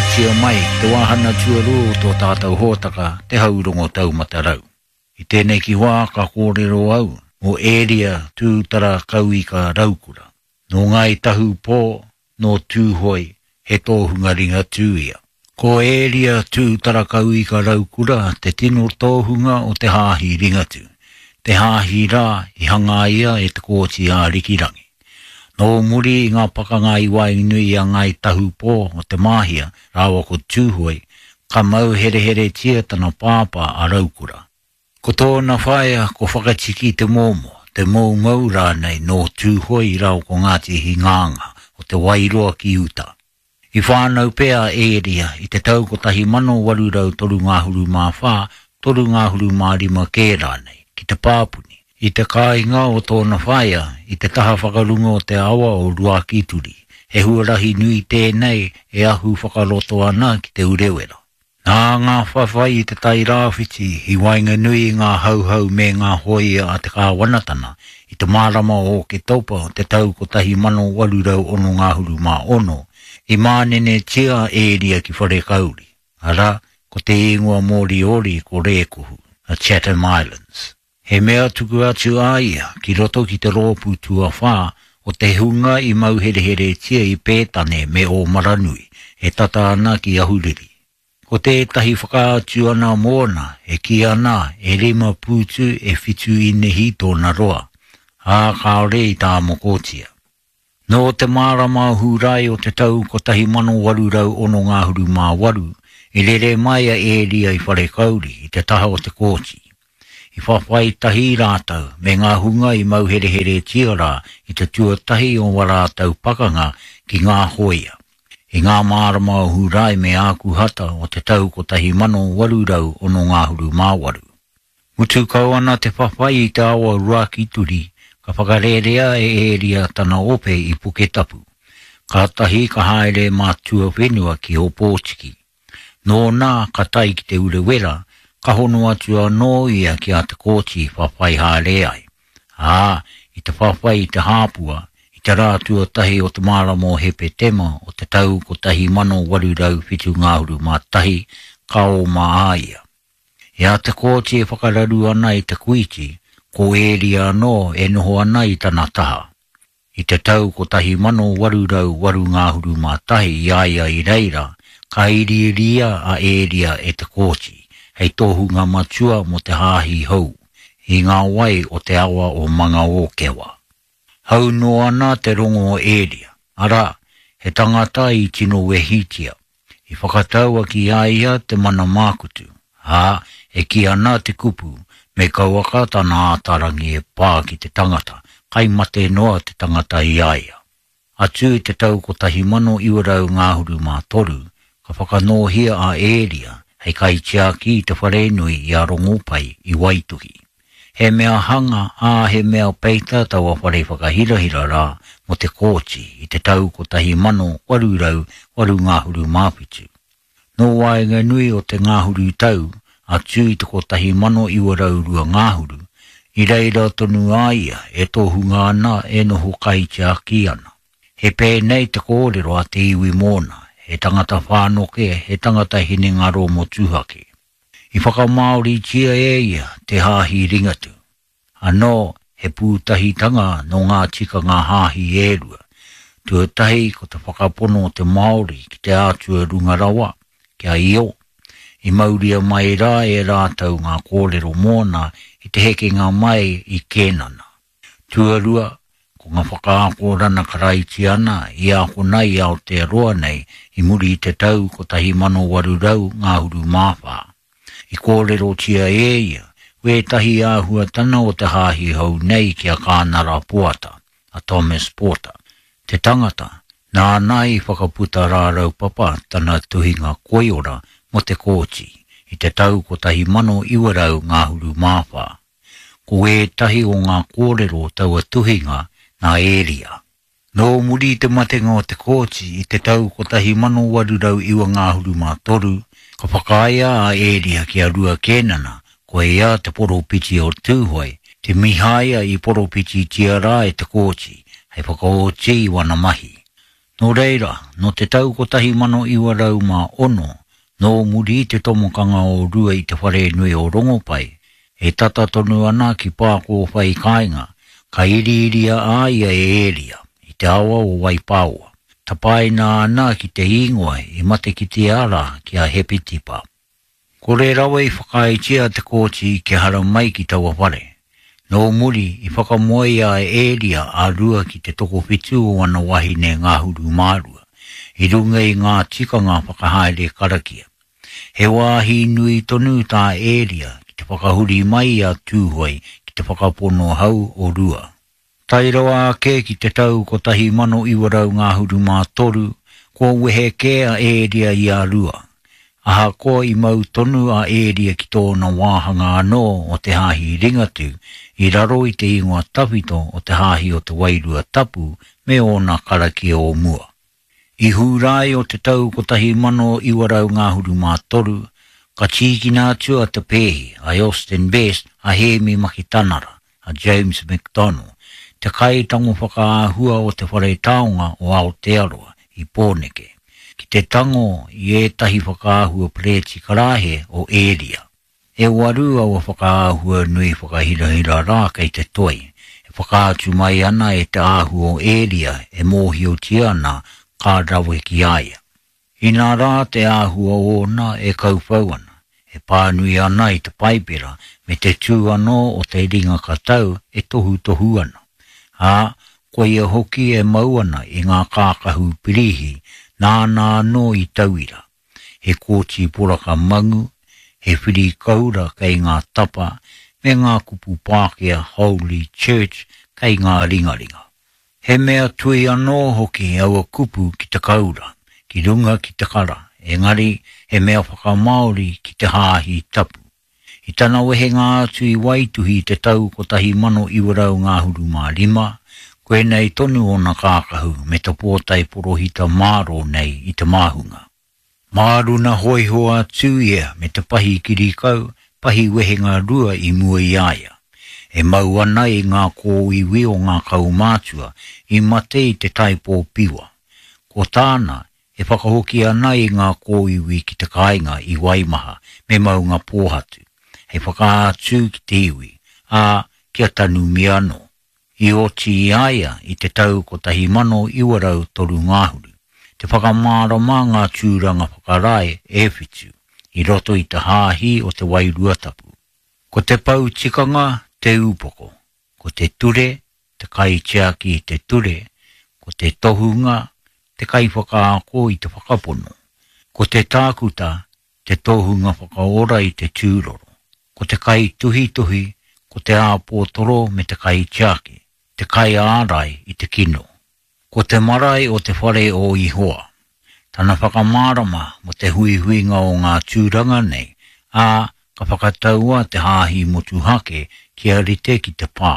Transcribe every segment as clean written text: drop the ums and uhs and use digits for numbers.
Karangatia mai ki te wāhana tuarua o tō tātou hōtaka Te Haurongo Taumata Rau. I tēneki wā ka kōrero au mō Ēria Tūtara Kauika Raukura. Nō Ngāi Tahu Pō, nō Tūhoe, he tōhunga Ringatū ia. Ko Ēria Tūtarakauika Raukura te tino tōhunga o te Hāhi Ringatū, te hāhi rā i hangaia e Te Kooti Ārikirangi. Nō muri i ngā pakanga i waenganui i a Ngāi Tahu Pō o Te Māhia rāua ko Tūhoe, ka mau hereheretia tana pāpā a Raukura. Ko tōna whaea ko Whakatiki Te Mōmō, Te Moumou rānei nō Tūhoe rāua ko Ngāti Hingānga o Te Wairoa ki uta. I whānau pea a Ēria i te tau 1834, 35 kē rānei, ki Te Pāpuni, i te kāinga o tōna whaea i te taha whakarunga o te awa o Ruakituri, he huarahi nui tēnei e ahu whakaroto ana ki Te Urewera. Nā ngā whawhai i Te Tai Rāwhiti i waenganui i ngā Hauhau me ngā hōia a te kāwanatana i te marama o Oketopa o te tau 1866, i mānenetia a Ēria ki Wharekauri, arā, ko te īngoa Moriori ko Rēkohu, the Chatham Islands. He mea tuku atu a ia ki roto ki te rōpū tuawhā o te hunga i mauhereheretia i Pētane me Ōmaranui, e tata ana ki Ahuriri. Ko tētahi whakaatu ana mōna e kī ana e rima pūtu e whitu īnihi tōna roa, ā, kāore i tāmokotia. Nō te marama o Hūrae o te tau 1868, i rere mai a Ēria i Wharekauri i te taha o Te Kooti. I whawhai tahi rātou me ngā hunga i mauhereheretia rā i te tuatahi o wā rātou pakanga ki ngā hōia. I ngā marama o Hūrae me Ākuhata o te tau 1868. Mutu kau ana te whawhai i te awa o Ruakituri, ka whakarērea e Ēria tana ope i Puketapu. Kātahi ka haere mā tuawhenua ki Ōpōtiki. Nōna ka tae ki Te Urewera, ka hono atu anō ia ki a Te Kooti whawhai haere ai. Ā, i te whawhai i Te Hāpua, i te rā tuatahi o te marama o Hepetema o te tau 1871, ka oma a ia. I a Te Kooti e whakararu ana i Te Kuiti, ko Ēria anō e noho ana i tana taha. I te tau 1881 i a ia i reira, ka iriiria a Ēria e Te Kooti hei tohunga matua mō te hāhi hou, i ngā wai o te awa o Mangaōkewa. Hau noa ana te rongo o Ēria, arā, he tangata i tino wehitia. I whakataua ki a ia te mana mākutu, ā, e kī ana te kupu, me kauaka tana ātarangi e pā ki te tangata, kai mate noa te tangata i a ia. Atu i te tau 1923, ka whakanōhia a Ēria hei kaitiaki i te wharenui i a Rongopai i Waituhi. He mea hanga, ā, he mea peita taua whare whakahirahira rā mō Te Kooti i te tau 1887. Nō waenganui o te ngahuru tau atu i te 1902 ngahuru, i reira tonu a ia e tohunga ana e noho kaitiaki ana. He pēnei te kōrero a te iwi mōna, he tangata whānoke, he tangata hinengaro motuhake. I whakamāoritia e ia te Hāhi Ringatū. Anō, he pūtahitanga nō ngā tikanga hāhi e rua. Tuatahi ko te whakapono o te Māori ki te Atua runga rawa, ki a Io. I mauria mai rā e rātou ngā kōrero mōna i te hekenga mai i Kēnana. Tuarua, ko ngā whakaakorana Karaitiana i ākona i Aotearoa nei i muri i te tau 1824. I kōrerotia e ia wētahi āhuatana o te hāhi hou nei ki a Kānara Poata, a Thomas Porter, te tangata nāna i whakaputa rāraupapa tana tuhinga koiora mō Te Kooti i te tau 1924. Ko ētahi o ngā kōrero o taua tuhinga nā Ēria. Nō muri i te matenga o Te Kooti i te tau 1893, ka whakaaea a Ēria ki a Rua Kēnana, ko ia te poropiti o Tūhoe, te Mihaia i poropititia rā e Te Kooti hei whakaoti i wana mahi. Nō reira, nō te tau 1906, nō muri i te tomokanga o Rua i te wharenui o Rongopai, e tata tonu ana ki Pākōwhai kāinga, ka iriiria a ia e Ēria, i te awa o Waipāoa. Tapaina ana ki te īngoa i matekitea rā ki a Hepetipa. Kore rawa i whakaaetia te kōti kia haramai ki taua whare. Nō muri, i whakamoea a Ēria a Rua ki te tokowhitu o ana wahine ngahuru mārua, i runga i ngā tikanga whakahaere karakia. He wāhi nui tonu tā Ēria ki te whakahuri mai i a Tūhoe ki te whakapono hau o Rua. Tae rawa ake ki te tau 1933, kua wehe kē a Ēria i a Rua. Ahakoa i mau tonu a Ēria ki tōna wāhanga anō o te Hāhi Ringatū i raro i te ingoa tawhito o te Hāhi o te Wairua Tapu me ōna karakia o mua. I Hūrae o te tau 1933, ka tīkina atu a Te Pēhi, a Elston Best, a Hēmi Makitanara, a James McDonnell, te kaitango whakaahua o Te Whare Taonga o Aotearoa i Pōneke, ki te tango i ētahi whakaahua perēti karāhe o Ēria. E waru aua whakaahua nui whakahirahira rā kei te toi, e whakaatu mai ana e te āhua o Ēria e mōhiotia ana ka rawe ki a ia. Inā rā te āhua ōna e kauwhau ana, e pānui ana i te Paipera me te tū anō o te ringa katau e tohutohu ana, ā, koia hoki e mau ana i ngā kākahu pirihi nāna anō i tauira. he kōti poraka mangu, he whiri koura kei ngā tapa, me ngā kupu Pākehā Holy Church kei ngā ringaringa. He mea tui anō hoki aua kupu ki te koura, ki runga ki te kara, engari he mea whakamāori ki te Hāhi Tapu. I tana wehenga atu i Waituhi i te tau 1925, koinei tonu ōna kākahu me te pōtae porohita mārō nei i te māhunga. Māruna hōiho atu ia me te pahi kirikau, pahi wehenga rua i mua i a ia. E mau ana i ngā kōiwi o ngā kaumātua i mate i te taipō piwa. Ko tāna, e whakahoki ana i ngā kōiwi ki te kāinga i Waimaha me Maungapōhatu, hei whakaatu ki te iwi, ā, kia tanumia anō. I oti i a ia i te tau 1903 ngahuru, te whakamārama ngā tūranga whakarae e whitu i roto i te Hāhi o te Wairua Tapu. Ko te pou tikanga te upoko, ko te ture, te kaitiaki i te ture, ko te tohunga, te kaiwhakaako i te whakapono, ko te tākuta, te tohunga whakaora i te tūroro, ko te kaituhituhi, ko te āpōtoro me te kaitiaki, te kaiārai i te kino. Ko te marae o te whare o Ihoa. Tana whakamārama mō te huihuinga o ngā tūranga nei, ā, ka whakataua te hāhi motuhake kia rite ki te pā.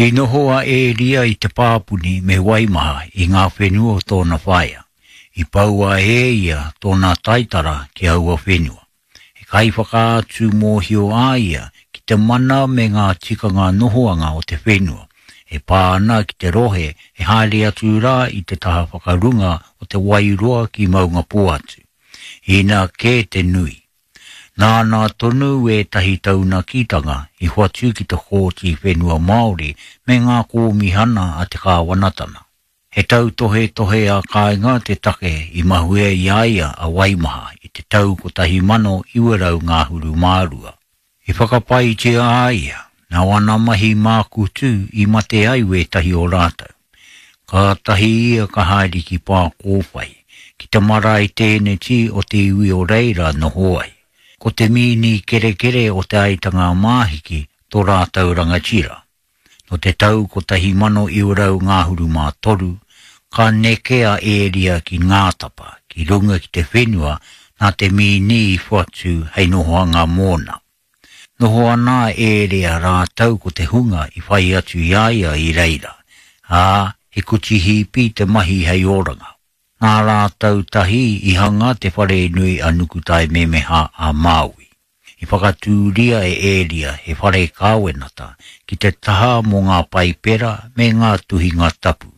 I noho a Ēria i Te Pāpuni me Waimaha i ngā whenua o tōna whaea. I poua e ia tōna taitara ki aua whenua. He kaiwhakaatu mōhio a ia ki te mana me ngā tikanga nohoanga o te whenua e pā ana ki te rohe e haere atu rā i te taha whakarunga o Te Wairoa ki Maungapōhatu. Inā kē te nui. Nāna tonu ētahi taunakitanga i hoatu ki te Kōti Whenua Māori me ngā kōmihana a te kāwanatana. He tautohetohe ā-kāinga te take i mahue i a ia a Waimaha i te tau 1922. I whakapaetia a ia, nā wana mahi mākutu i mate ai wētahi o rātou. Kātahi ia ka haere ki Pākōwhai, ki te marae tēneti o te iwi o reira noho ai. Ko te mīni kerekere o Te Aitanga-a-Māhiki tō rātou rangatira. Nō te tau 1923, ka neke a Ēria ki Ngātapa, ki runga ki te whenua nā te mīni i whatu hei nohoanga mōna. Noho ana a Ēria rātou ko te hunga i whai atu i a ia i reira, ā, he kuti hīpi te mahi hei oranga. Nā rātou tahi i hanga te wharenui a Nukutaimemeha a Māui. I whakatūria e Ēria he whare kāwenata ki te taha mō ngā Paipera me ngā tuhinga tapu.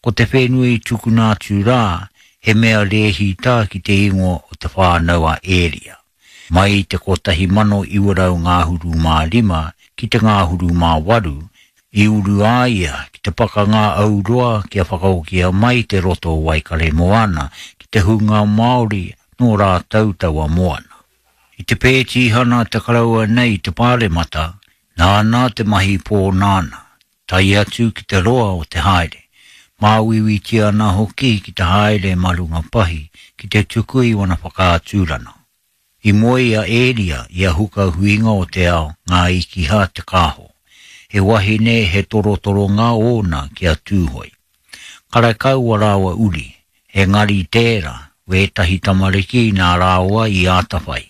Ko te whenua i tukuna atu rā, he mea rēhita ki te ingoa o Te Whānau a Ēria. Mai i te 1935 ki te ngahuru mā waru, i uru a ia ki te pakanga auroa kia whakahokia mai te roto o Waikaremoana ki te hunga Māori nō rātou taua moana. I te pētihana te karaua nei i te Pāremata, nāna te mahi pōnānā, tae atu ki te roa o te haere. Māuiuitia ana hoki ki te haere mā runga pahi ki te tuku i wana whakaaturana. I moe a Ēria i a Huka Huinga o te Ao, Ngā Ikiha Te Kāho. He wahine he torotoronga ōna ki a Tūhoe. Karekau a rāua uri, engari tērā wētahi tamariki nā rāua i ātawhai.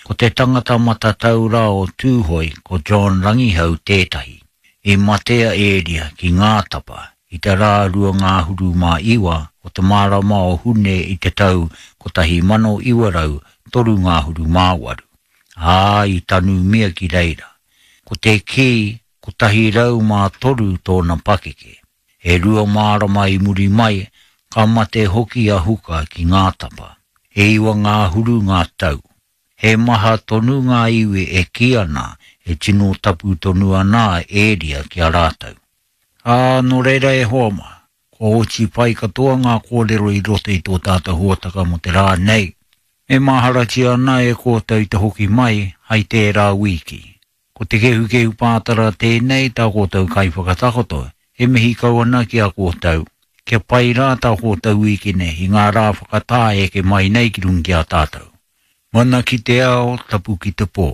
Ko te tangata matatau rā o Tūhoe ko John Rangihau tētahi. I mate a Ēria ki Ngātapa i te rā 29 o te marama o Hune i te tau 1938, ā, i tanumia ki reira. Ko te kī, 103 tōna pakeke. E rua marama i muri mai, ka mate hoki a Huka ki Ngātapa. E iwa ngāhuru ngā tau. He maha tonu ngā iwi e kī ana e tino tapu tonu ana a Ēria ki a rātou. Ā, nō reira e hoa mā, kua oti pai katoa ngā kōrero i roto i tō tātou hōtaka mō te rā nei. E maharatia ana e kōtou te hoki mai hai tērā wīki. Ko te kehukehu pātara tēnei tā koutou kaiwhakatakoto, e mihi kau ana ki a koutou. Kia pai rā tā koutou wīkene i ngā rā whakatā e eke mai nei ki runga ki a tātou. Mana ki te ao, tapu ki te pō.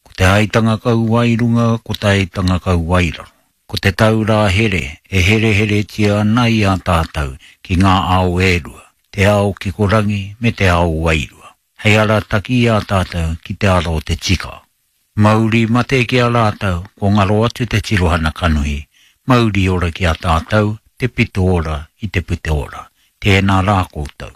Ko te aitanga kau wairunga, ko te aitanga kau wairaro. Ko te taurā here e hereheretia ana i a tātou ki ngā ao e rua, te ao kikorangi me te ao wairua, hei arataki i a tātou ki te ara o te tika. Mauri mate ki a rātou, ko ngaro atu te tirohana kanohi, mauri ora ki a tātou, te pito ora i te pute ora. Tēnā rā koutou.